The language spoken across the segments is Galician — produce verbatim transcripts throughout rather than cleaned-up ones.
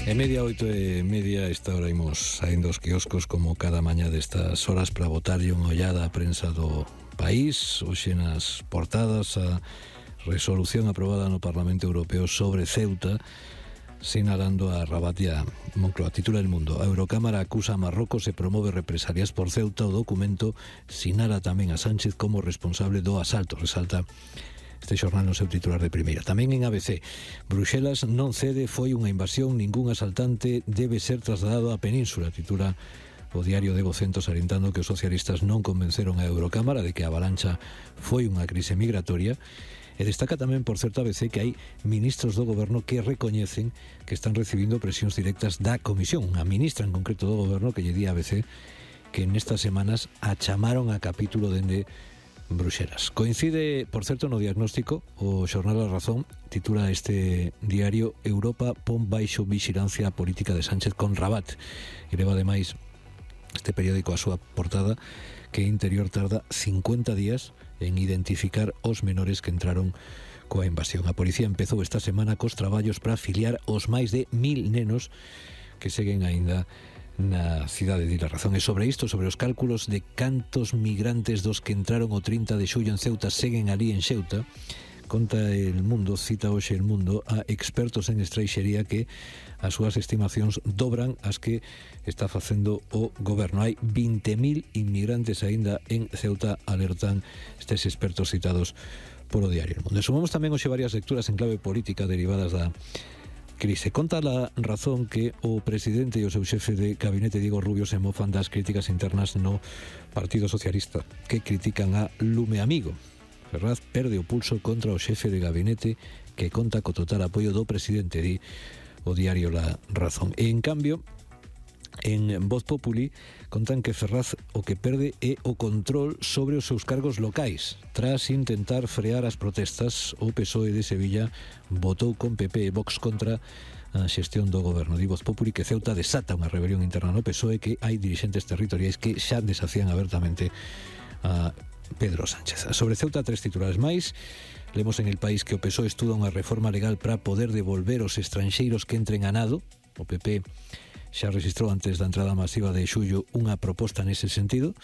E media, oito e media, esta hora imos saindo os quioscos como cada mañá destas horas para botarlle unha ollada á prensa do país. Hoxe nas portadas a resolución aprobada no Parlamento Europeo sobre Ceuta, sinalando a Rabat e a Moncloa. Titula El Mundo: a Eurocámara acusa a Marrocos e promove represalias por Ceuta. O documento sinala tamén a Sánchez como responsable do asalto, resalta este xornal no seu titular de primeira. Tamén en A B C: Bruxelas non cede, foi unha invasión, ningún asaltante debe ser trasladado á península, titula o diario de Vocento, salientando que os socialistas non convenceron a Eurocámara de que a avalancha foi unha crise migratoria. E destaca tamén, por certo, A B C, que hai ministros do goberno que recoñecen que están recibindo presións directas da Comisión. Unha ministra en concreto do goberno que lle di a A B C que nestas semanas a chamaron a capítulo dende Bruxelas. Coincide, por certo, no diagnóstico o xornal A Razón, titula este diario: Europa pon baixo vixilancia a política de Sánchez con Rabat, e leva ademais este periódico a súa portada que Interior tarda cincuenta días en identificar os menores que entraron coa invasión. A policía empezou esta semana cos traballos para afiliar os máis de mil nenos que seguen aínda na cidade de La Razón. E sobre isto, sobre os cálculos de cantos migrantes dos que entraron o trinta de xullo en Ceuta seguen ali en Ceuta, conta El Mundo, cita hoxe El Mundo a expertos en estranxería que as súas estimacións dobran as que está facendo o goberno. Hai vinte mil inmigrantes aínda en Ceuta, alertan estes expertos citados polo diario El Mundo. E sumamos tamén hoxe varias lecturas en clave política derivadas da crise. Conta La Razón que o presidente e o seu xefe de gabinete, Diego Rubio, se mofan das críticas internas no Partido Socialista, que critican a Lume Amigo. Ferraz perde o pulso contra o xefe de gabinete, que conta co total apoio do presidente, di o diario La Razón. E en cambio, en Voz Populi contan que Ferraz o que perde é o control sobre os seus cargos locais. Tras intentar frear as protestas, o P S O E de Sevilla votou con P P e Vox contra a xestión do goberno. Di Voz Populi que Ceuta desata unha rebelión interna no P S O E, que hai dirixentes territoriais que xa desafían abertamente a Pedro Sánchez. Sobre Ceuta, tres titulares máis. Lemos en El País que o P S O E estuda unha reforma legal para poder devolver os estranxeiros que entren a nado. O P P xa registrou antes da entrada masiva de xullo unha proposta nese sentido,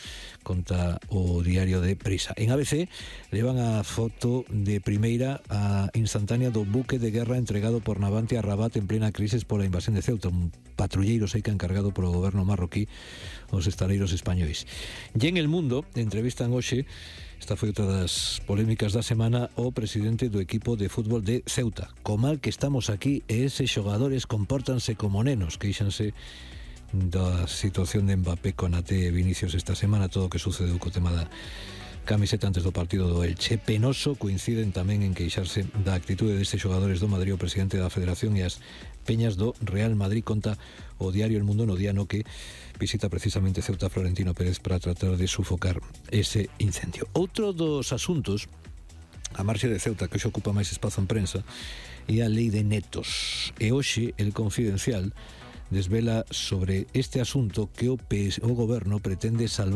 conta o diario de Prisa. En A B C levan a foto de primeira a instantánea do buque de guerra entregado por Navante a Rabat en plena crisis pola invasión de Ceuta, un patrulleiro seica encargado polo goberno marroquí aos estaleiros españois. E en El Mundo entrevistan hoxe, esta foi outra das polémicas da semana, o presidente do equipo de fútbol de Ceuta. Co mal que estamos aquí e eses xogadores compórtanse como nenos, queixanse da situación de Mbappé, Konaté e Vinicius esta semana, todo o que sucedeu co tema da camiseta antes do partido do Elche. Penoso, coinciden tamén en queixarse da actitude destes xogadores do Madrid, o presidente da Federación e as peñas do Real Madrid, conta o diario El Mundo no día no que visita precisamente Ceuta Florentino Pérez para tratar de sufocar ese incendio. Outro dos asuntos, a marxe de Ceuta, que hoxe ocupa máis espazo en prensa, é a lei de netos. E hoxe El Confidencial desvela sobre este asunto que o, P S, o goberno pretende salvar